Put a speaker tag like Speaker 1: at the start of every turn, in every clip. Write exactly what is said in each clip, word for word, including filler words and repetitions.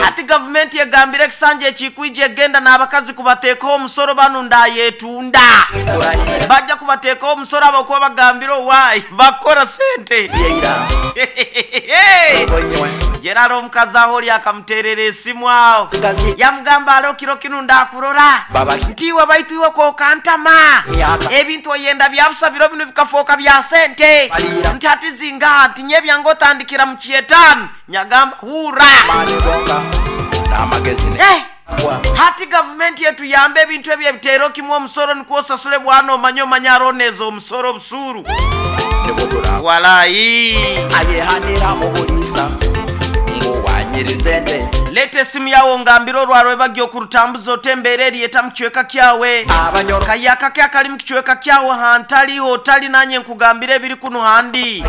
Speaker 1: Ati gavumenti egambire ekisanja ekikwija egenda n'abakazi kubateekaho omusoro banu ndayetunda bajja kubateekaho omusoro abakuba bagambire owaayi bakora sente. Gerard omukazi aho oli akamuteerera esimu aho yamugamba alo kiro kinu ndakurora ntiwe baitu iwe kokantama ebintu oyenda byabusa biro bino bikafoka bya sente nti ati zingaha nti nyebyange otandikira mu kyetaano nyagamba hura. Eh, hati gavumenti yetu yambe ebintu ebyo ebiteero kimwe omusoro nikwo osasule bwana omanye omanye aroneza omusoro obusuru walayi. Leta esimu yawo ngambire olwaro ebagya okurutambuza otembeera eriyeta mu kichweka kyawe kayaka ke akali mu kichweka kyawe hantali otali nanye nkugambire ebiri kuno handi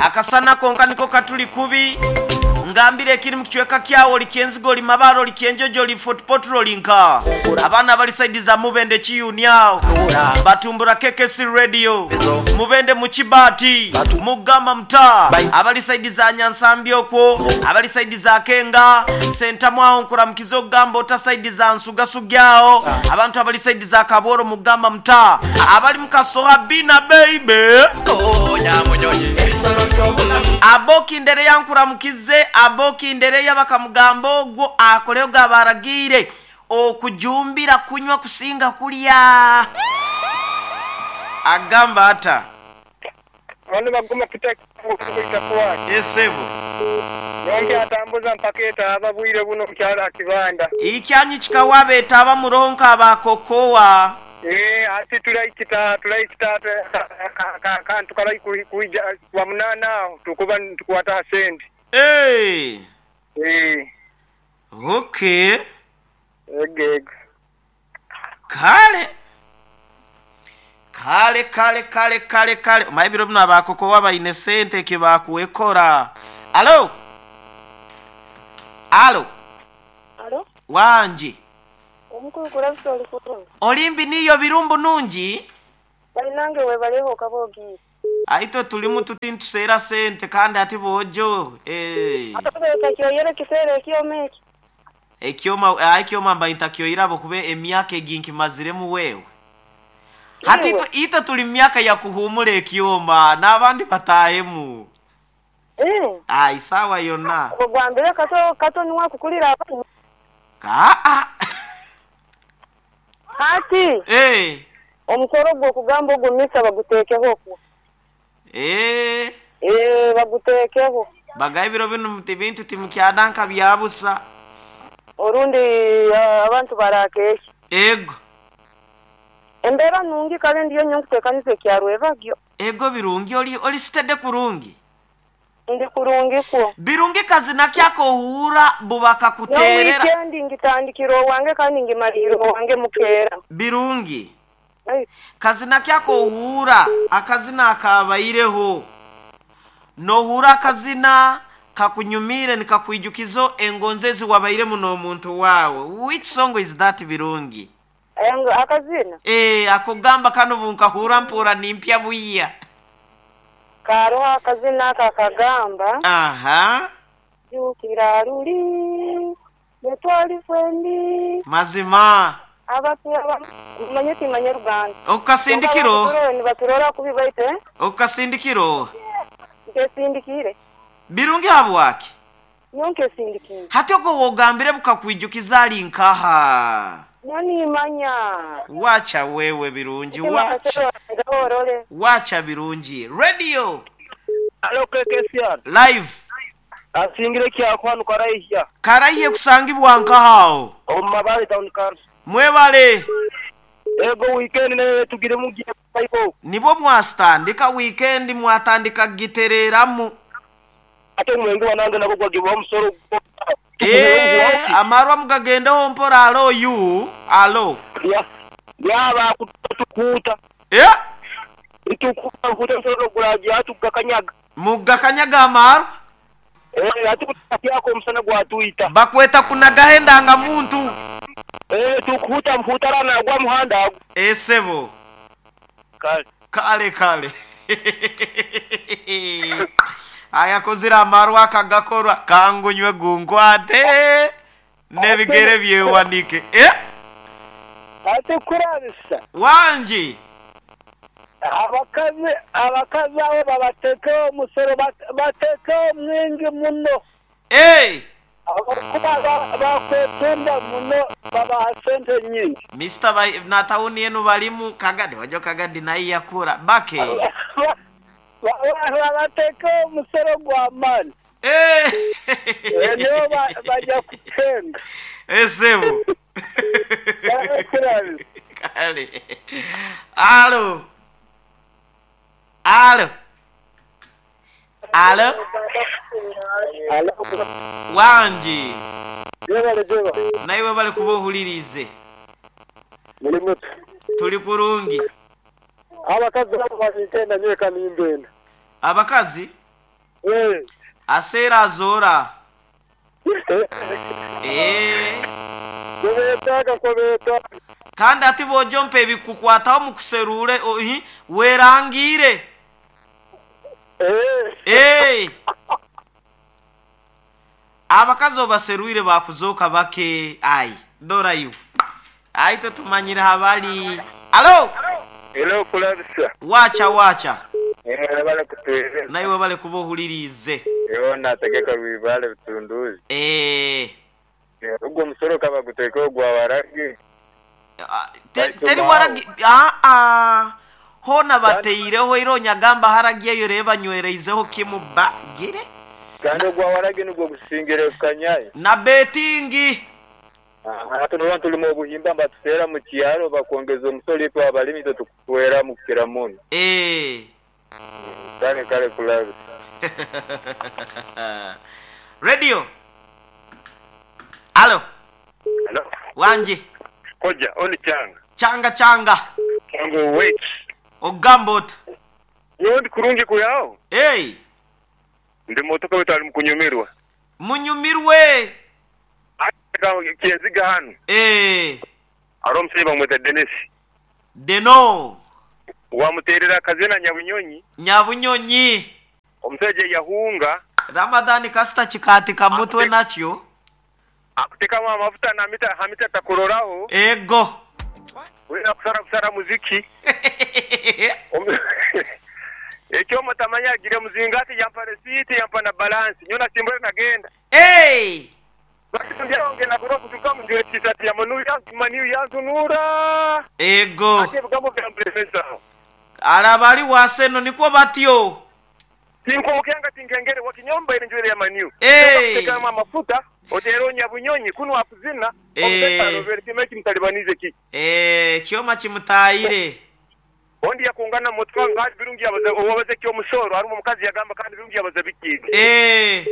Speaker 1: akasana konka niko katuli kubi ngambire ekiri mu kichweka kyawe oli kyenzigo oli mabaro oli kyenjojo oli Fort Portal nka abaana bali saidi za Mubende Kiyuni awo batumbura K K C radio Mubende mu Kibati Mugamba mtaa abali saidi za Nyansambi okwo abali saidi za Kenga Sentamu awo nkuramukiza okugamba ota saidi za Nsugasugyawo abantu abali saidi za Kaboro Mugamba mtaa abali mu Kasoha Bina baby aboki ndere yankuramukize aboki ndere y'abakamugambo ogwo akoleyo gabaragire okujumbira kunywa kusinga kulya agamba ata
Speaker 2: bano baguma kutakuwa
Speaker 1: esebo
Speaker 2: yonke atambuza mpaketa ababwire buno kyala kibanda
Speaker 1: ikyanyi kikawabeta abamuronka abakokowa.
Speaker 2: Eh, ati tulaikita tulaikita kantu kalai kuija wa munana tukuba tukwata sendi.
Speaker 1: Eh.
Speaker 2: Eh.
Speaker 1: Okay.
Speaker 2: Egeg.
Speaker 1: Kale. Kale kale kale kale kale. Maibiro bino abakokowa bayine sente kibakuwekora. Alo. Alo.
Speaker 3: Alo.
Speaker 1: Wanji.
Speaker 3: Olimbi
Speaker 1: niyo birumbu nungi.
Speaker 3: Balinange webaleho kabogi.
Speaker 1: Aito tulimu tutintusera sente kandi ati bojo. Eh.
Speaker 3: Atobeka kyoyere kisere kyomeki.
Speaker 1: Ekyoma ekyoma mba intakyoirabo kube emyaka eginki maziremu wewe. Hati ito, ito tuli myaka ya kuhumula ekyoma n'abandi batahemu.
Speaker 3: Eh.
Speaker 1: Ai sawa yonna.
Speaker 3: Ogwambire kato kato niwa kukulira abantu.
Speaker 1: Ka a.
Speaker 3: Hati.
Speaker 1: Eh.
Speaker 3: Omukoro gwo kugamba ogwo misa bagutekeho ku.
Speaker 1: Eh.
Speaker 3: Eh bagutekeho.
Speaker 1: Bagaibiro bino mutibintu timukyadanka byabusa.
Speaker 3: Orundi abantu barakesha.
Speaker 1: Ego.
Speaker 3: Embera nungi kale ndiyo nyokutekanisa ekyarwebagyo.
Speaker 1: Ego birungi oli oli sitede kurungi.
Speaker 3: Ndi kurungi ko.
Speaker 1: Birungi kazina kyako hura bubaka kuterera.
Speaker 3: No weekend ngitandikiro wange kandi ngimaliro wange mukera.
Speaker 1: Birungi. Kazina kyako hura akazina akabaireho. No hura akazina kakunyumire nikakwijukizo engonzezi wabaire muno omuntu wawe. Which song is that Birungi?
Speaker 3: Engo akazina?
Speaker 1: Eh akugamba kano bunkahura mpura nimpya buya.
Speaker 3: Karo akazina kakagamba.
Speaker 1: Aha.
Speaker 3: Jukira ruli netwali fwendi.
Speaker 1: Mazima.
Speaker 3: Abatu manyeti manyaruganda.
Speaker 1: Okasindikiro.
Speaker 3: Ni baturora kubibaite.
Speaker 1: Okasindikiro.
Speaker 3: Nkesindikire.
Speaker 1: Birungi habwaki?
Speaker 3: Nyonke sindikire.
Speaker 1: Hati ogwo wogambire bukakwijukiza ali nkaha.
Speaker 3: Nani manya.
Speaker 1: Wacha wewe Birungi, wacha. Wacha Birungi. Radio.
Speaker 2: Alo K K C R.
Speaker 1: Live.
Speaker 2: Asingire kya kwanu karaiya.
Speaker 1: Karaiye kusangibwa nkahao.
Speaker 2: Omabale town council.
Speaker 1: Mwebale.
Speaker 2: Ego weekend ne tugire mugiye paiko.
Speaker 1: Nibo mwastandika weekend mwatandika gitereramu.
Speaker 2: Ate mwengi wanange nabo gwagibwa omusoro.
Speaker 1: Eh, amarwa mugagendeho mpora alo yu, alo.
Speaker 2: Ya. Yaba kutukuta.
Speaker 1: Eh?
Speaker 2: Itukuta kuta nsoro guraji atugakanyaga.
Speaker 1: Mugakanyaga amarwa?
Speaker 2: Eh, atukutako omusana gwatuita.
Speaker 1: Bakweta kunagahenda nga muntu.
Speaker 2: Eh, tukuta mhutarana gwa muhanda.
Speaker 1: Eh, sebo.
Speaker 2: Kale.
Speaker 1: Kale kale. Ayakozire amarwa akagakorwa kangunywe gunkwate n'ebigere byewanike. Eh?
Speaker 4: Ate kurabisa.
Speaker 1: Wangi.
Speaker 4: Abakazi abakazi abo babatekeho omusoro batekeho mwingi muno.
Speaker 1: Eh!
Speaker 4: Abakuba bakwetunda muno babaha sente nyingi.
Speaker 1: Mister Ba natawuni yenu balimu Kagadi wajo Kagadi naye yakura bake.
Speaker 4: Babatekeho omusoro gwa maani.
Speaker 1: Eh!
Speaker 4: Nibo bajja kutenga.
Speaker 1: Esebo. Kale. Alo. Alo. Alo.
Speaker 4: Alo.
Speaker 1: Wangi.
Speaker 4: Jebale jeba.
Speaker 1: Naiwe bale kubohulirize.
Speaker 4: Muli mutu.
Speaker 1: Tuli kurungi.
Speaker 4: Abakazi nabo babitenda nyweka nimbenda.
Speaker 1: Abakazi?
Speaker 4: Eh.
Speaker 1: Asera azora. Eh.
Speaker 4: Kubetaga kubeta.
Speaker 1: Kandi ati bojompe ebikukwataho mu kuserure ohi werangire.
Speaker 4: Eh.
Speaker 1: Eh. Abakazi obaserwire bakuzoka bake ai dora yu. Ai tutumanyira habali. Alo.
Speaker 2: Hello kulabisa.
Speaker 1: Wacha wacha.
Speaker 2: Eh bale kutuze.
Speaker 1: Naiwe bale kubohulirize.
Speaker 2: Yo nategeka bibale bitunduzi.
Speaker 1: Eh.
Speaker 2: Ubwo musoro kaba guteko gwa waragi.
Speaker 1: Teri waragi ah ah hona bateireho ironya gamba haragiye yoreba nywereizeho kimu bagire.
Speaker 2: Kandi gwa waragi nubwo gusingire kanyaye.
Speaker 1: Na betingi.
Speaker 2: Ah hatu tulimo obuhimba mbatutera mu kyaro bakongeza omusoro itwa abalimi tukuwera mu kiramuno.
Speaker 1: Eh.
Speaker 2: Kale kale kulabi.
Speaker 1: Radio. Alo.
Speaker 2: Hello.
Speaker 1: Wanji.
Speaker 2: Koja, oni changa.
Speaker 1: Changa changa.
Speaker 2: Chango wait.
Speaker 1: Ogambot.
Speaker 2: Yondi kurungi kuyao.
Speaker 1: Hey.
Speaker 2: Ndi motoka wetu ali mukunyumirwa.
Speaker 1: Munyumirwe.
Speaker 2: Aka kiyaziga hano.
Speaker 1: Eh.
Speaker 2: Aro msiba mweta Dennis.
Speaker 1: Deno.
Speaker 2: Wamuterera kazina Nyabunyonyi.
Speaker 1: Nyabunyonyi.
Speaker 2: Omuseje yahunga.
Speaker 1: Ramadhani kasita chikati kamutwe nakyo.
Speaker 2: Akutekamu amafuta na mita hamita takuroraho.
Speaker 1: Ego.
Speaker 2: Wena kusara kusara muziki. Ekyo mutamanya agire muzingati yampa receipt yampa na balance. Nyona simbwe nagenda.
Speaker 1: Hey!
Speaker 2: Bakitambia na kuroka kutuka mjue t-shirt ya manu ya maniu ya tunura.
Speaker 1: Ego.
Speaker 2: Ate bigambo bya mprefesa.
Speaker 1: Arabali waseno niko batyo.
Speaker 2: Tinko tinkengere wakinyomba ile njwele ya maniu.
Speaker 1: Hey!
Speaker 2: Kama mafuta otero Nyabunyonyi kuno akuzina
Speaker 1: eh
Speaker 2: Robert kimeki mtalibanize ki.
Speaker 1: Eh kyoma kimutayire.
Speaker 2: Ondi yakungana motwa ngadi birungi yabaze owabaze kyo musoro ari mukazi yagamba kandi birungi yabaze bikige.
Speaker 1: Eh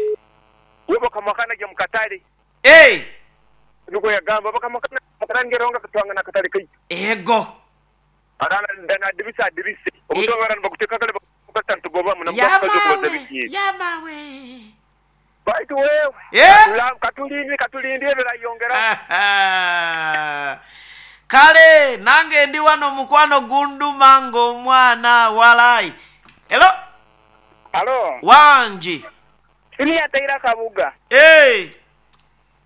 Speaker 2: webo kamakana gya mukatale.
Speaker 1: Eh
Speaker 2: nuko yagamba bakamakana makarangeronga katwanga na katale kai.
Speaker 1: Ego.
Speaker 2: Arana ndana dibisa dibise. Omutonga arana bakuteka kale bakata tugoba muna mkazi kubaze bikige.
Speaker 1: Yamawe.
Speaker 2: Baitu wewe.
Speaker 1: Yeah.
Speaker 2: Katulindi katulindi ebera yongera.
Speaker 1: Kale nange ndi wano mukwano gunduma ng'omwana walai. Hello.
Speaker 4: Hello.
Speaker 1: Wanji.
Speaker 4: Sini yataira Kabuga.
Speaker 1: Eh.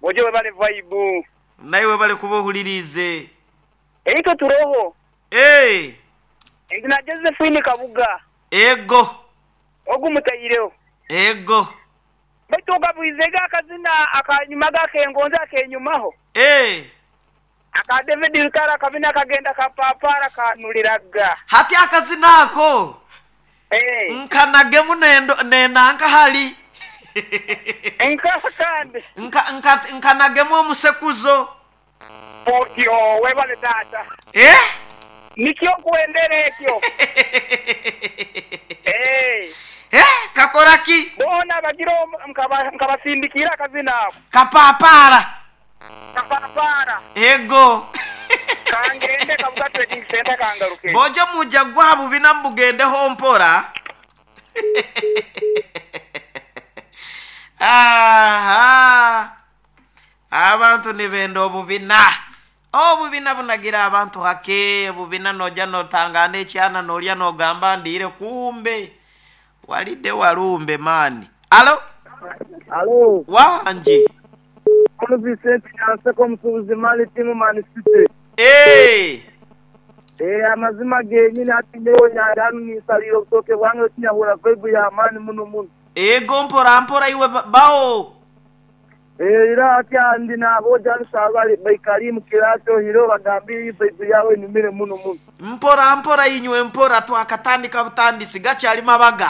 Speaker 4: Boje webale vibe.
Speaker 1: Naiwe bale kubohulirize.
Speaker 4: Eito turoho.
Speaker 1: Eh.
Speaker 4: Ndina Josephine Kabuga.
Speaker 1: Ego.
Speaker 4: Ogu mutayireo.
Speaker 1: Ego.
Speaker 4: Baitu okabwizega akazina akanyuma gakengonza akenyumaho.
Speaker 1: Eh.
Speaker 4: Aka David Lutara kabina kagenda kapapara kanuliraga.
Speaker 1: Hati akazina ako.
Speaker 4: Eh.
Speaker 1: Nkanage munendo nenanka hali.
Speaker 4: Nka kandi.
Speaker 1: Nka nka nkanagemu omusekuzo.
Speaker 4: Otyo webale tata.
Speaker 1: Eh?
Speaker 4: Nikyo kuendere ekyo. Eh.
Speaker 1: Eh, kakora ki?
Speaker 4: Bona bagiro nkabasindikira akazina ako.
Speaker 1: Kapapara.
Speaker 4: Kapapara.
Speaker 1: Ego.
Speaker 4: Kangende Kabuga Trading Center kangaruke.
Speaker 1: Bojo muja gwa bubina mbugende ho mpora. Aha. Abantu nibenda obubina. Obubina bunagira abantu hake, obubina noja notangana ekyana nolya nogamba ndire kumbe. Walidde walumbe maani. Alo?
Speaker 4: Alo,
Speaker 1: Wangi.
Speaker 4: ono Vincent Nyanseko omusuubuzi Mali timu Man City.
Speaker 1: Eh,
Speaker 4: Eh, amazima genyini ati nyewe nyandanu nisalira obutoke bwange okinyahura vibe ya maani muno muno.
Speaker 1: Ego mpora mpora iwe ba- bawo.
Speaker 4: Eh, era ati andi naboja nsabali baikali mu kirato hiro bagambire iyi vibe yawe inumire muno muno.
Speaker 1: Mpora mpora inywe mpora twakatandika butandisi gakyali mabaga.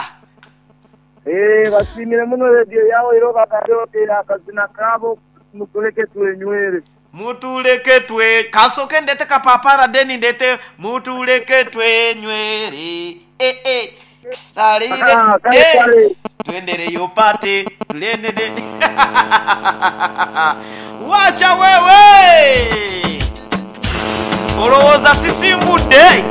Speaker 4: Eh, basimire muno radio yawe hiro bagambire oti akazina kabo mutuleke twenywere.
Speaker 1: Mutuleke twe kasoke ndete kapapara deni ndete mutuleke twenywere. Eh eh. Talire.
Speaker 4: Ah, kale
Speaker 1: Eh.
Speaker 4: kale.
Speaker 1: Twendereyo pate tulendede. Wacha wewe. Olowooza sisimbudde.